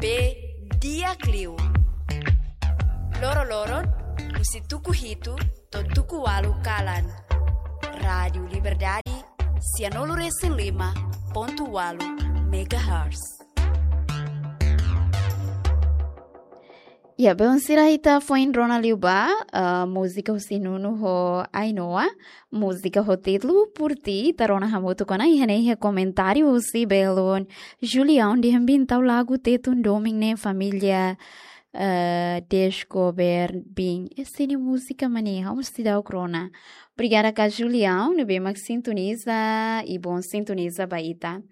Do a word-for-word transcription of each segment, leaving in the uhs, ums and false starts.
Be di'ak liu. Loro-loron, husi tuku hitu to'o tuku ualu kalan. Rádiu Liberdade, sianulu resin lima pontu ualu megahertz. Ya, belun sira, ita foin rona liu ba, eh, múzika husi Nuno ho Ainhoa, múzika ho títulu Por Ti, ita rona hamutuk ona, iha ne'e iha komentáriu husi belun Julião, dehan bin tau lagu Tetun domin ne'e família, eh, Descober bin. Esse ne'e múzika mane, ha'u mós seidauk rona. Obrigada ka Julião, ne'ebé mak sintoniza, i bom sintoniza ba ita.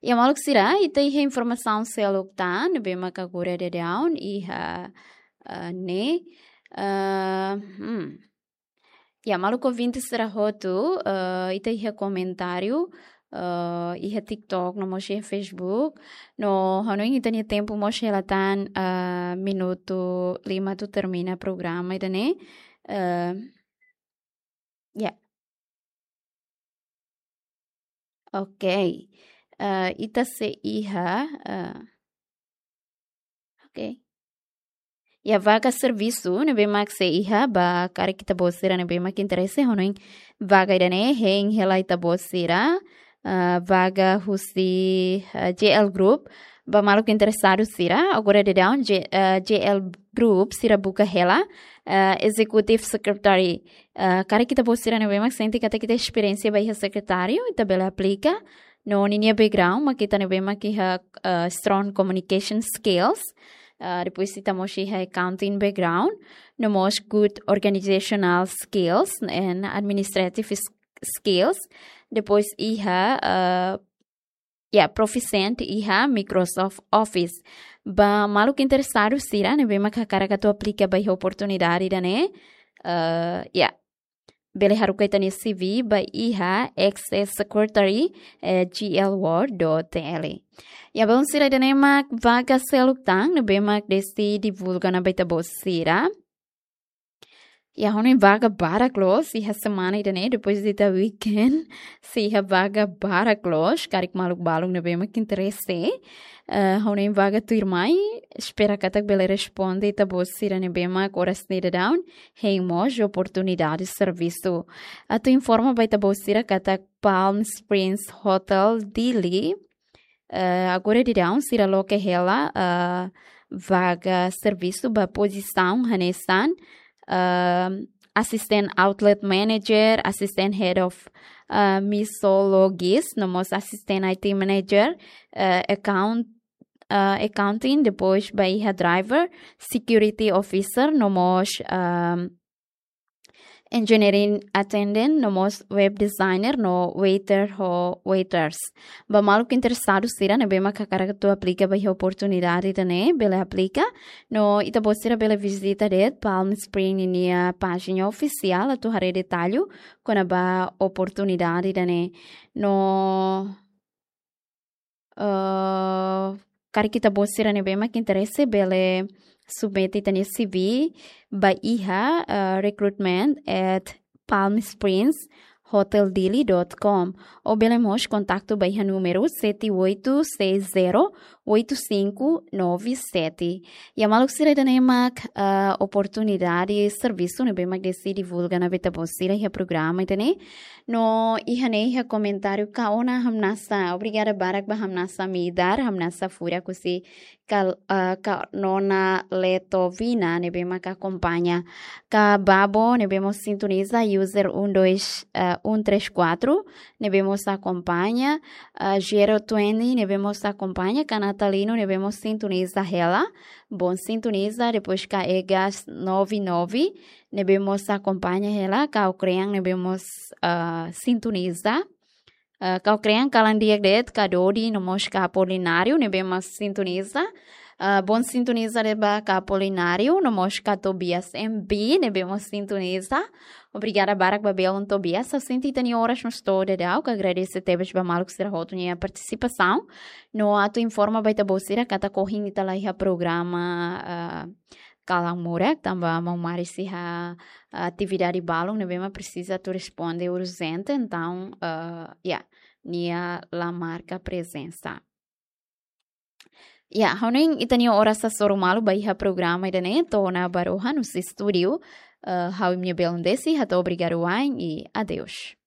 Ya maluk sira, ita iha informasaun seluk tan, ne'ebé mak agora daudaun, iha, eh, ne'e, eh, hmm. Ya maluk ouvinte sira hotu, eh, ita iha komentáriu, eh, iha TikTok, no mós iha Facebook, no hanoin ita-nia tempu mós hela tan, eh, minutu lima atu termina programa ida-ne'e, eh, ya. Oke. Eh, ita sei iha, eh, oke. Ya, vaga servisu ne'ebé mak sei iha ba karik ita-boot sira ne'ebé mak interese, hanoin vaga ida-ne'e hein hela ita-boot sira, eh, vaga husi, eh, J L Group, ba maluk interesadu sira, agora daudaun J-, eh, J L Group sira buka hela, eh, Executive Secretary. Eh, karik ita-boot sira ne'ebé mak sente katak ita esperiénsia ba iha sekretáriu, ita bele aplika. No ninia background mak ita ne'ebé mak iha, eh, strong communication skills. Eh, depois ita mós iha accounting background. No mós good organizational skills and administrative s-, skills. Depois iha, eh, ya, proficiency iha Microsoft Office. Ba maluk interesadu sira ne'ebé mak hakarak atu aplika ba iha oportunidade ida-ne'e, eh, ya, bele haruka ita-nia C V ba iha access secretary at G L world dot T L. Ya, belun sira, ida-ne'e mak vaga seluk tan ne'ebé mak Desi divulga ona ba ita-boot sira. Ya, hanoin vaga barak loos, iha semana ida-ne'e, depois de ita weekend, sei iha vaga barak loos, karik maluk balun ne'ebé mak interese. Eh, hanoin vaga tuirmai, espera katak bele responde ita-boot sira ne'ebé mak oras ne'e daudaun hein mós oportunidade servisu. Atu informa ba ita-boot sira katak Palm Springs Hotel Dili, eh, agora daudaun sira loke hela, eh, vaga servisu ba pozisaun hanesan, eh, assistant outlet manager, assistant head of, eh, mixologist, no mós assistant I T manager, eh, account, eh, accounting, depois ba iha driver, security officer, no mós, ehm, engineering attendant, no mós web designer, no waiter ho waiters. Ba maluk interesadu sira ne'ebé mak hakarak atu aplika ba iha oportunidade ida-ne'e, bele aplika. No ita-boot sira bele vizita de'it Palm Spring ninia pájina ofisiál atu haree detallu kona-ba oportunidade ida-ne'e. No, eh, karik ita-boot sira ne'ebé mak interese bele submete ita-nia C V ba iha, eh, recruitment at palmspringshoteldili dot com. Ou bele mós kontaktu ba iha númeru sete oito seis zero oito cinco nove sete. Ya maluk sira, ida-ne'e mak, eh, oportunidade servisu ne'ebé mak Desi divulga ona ba ita-boot sira iha programa ida-ne'e. No iha ne'e iha komentáriu ka ona hamnasa. Obrigada barak ba hamnasa midar, hamnasa furak husi ka, eh, ka nona Letovina ne'ebé mak akompaña. Ka Babo ne'ebé mós sintoniza, user um dois, eh, um três quatro ne'ebé mós akompaña. Eh, Gero Twenty ne'ebé mós akompaña. Ka Natalino ne'ebé mós sintoniza hela. Bom sintoniza, depois ka Egas nove nove ne'ebé mós akompaña hela, Kau Krean ne'ebé mós, ah, sintoniza. Ah, Kau Krean kalan di'ak de'it, ka Dodi, no mós ka Apolinário ne'ebé mós sintoniza. Ah, bom sintoniza de'it ba ka Apolinário, no mós ka Tobias M B ne'ebé mós sintoniza. Obrigada barak ba belun Tobias, ha'u sente ita-nia oras mós to'o daudaun, ka agradese tebes ba maluk sira hotu nia partisipasaun. No atu informa ba ita-boot sira katak ohin ita la iha programa, ah, kalan murak, tanba maun Mari sei iha, ah, atividade balun ne'ebé mak presiza atu responde urjente, entaun, ah, ya, nia la marka prezensa. Ya, ha'u hanoin ita-nia oras hasoru malu ba iha programa ida-ne'e to'o ona ba rohan husi estúdiu. Eh, ha'u imi-nia belun Desi, hato'o obrigadu wa'in i adeus.